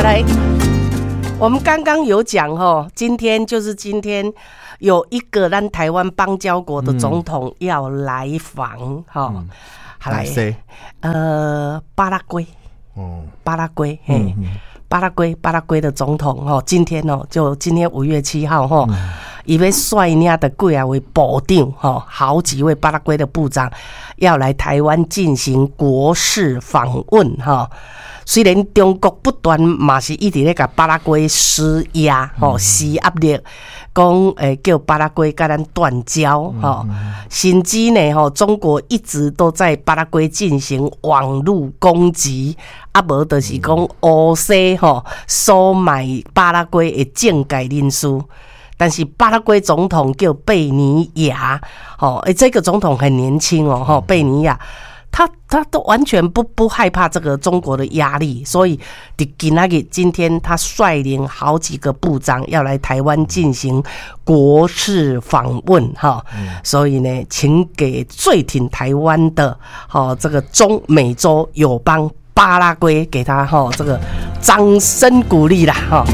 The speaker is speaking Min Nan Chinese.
來，我們剛剛有講吼，今天就是今天有一個咱台灣邦交國的總統要來訪，哈，好來，巴拉圭，哦，巴拉圭，嘿，巴拉圭，巴拉圭的總統，吼，今天哦，就今天5月7號，吼，伊欲率領的幾仔位部長，吼，好幾位巴拉圭的部長要來台灣進行國事訪問，哈。雖然中國不斷嘛是一直咧共巴拉圭施壓，吼，施壓力，講叫巴拉圭共咱斷交，吼，甚至呢，吼，中國一直都在巴拉圭進行網路攻擊，啊無就是講烏西吼，收買巴拉圭的政界人士。但是巴拉圭總統叫貝尼亞，吼，欸，這個總統很年輕哦，吼，貝尼亞。他都完全不害怕這個中國的壓力，所以佇今仔日今天他率領好幾個部長要來台灣進行國事訪問，哈，所以呢，請給最挺台灣的，哈，這個中美洲友邦巴拉圭給他哈這個掌聲鼓勵啦，哈。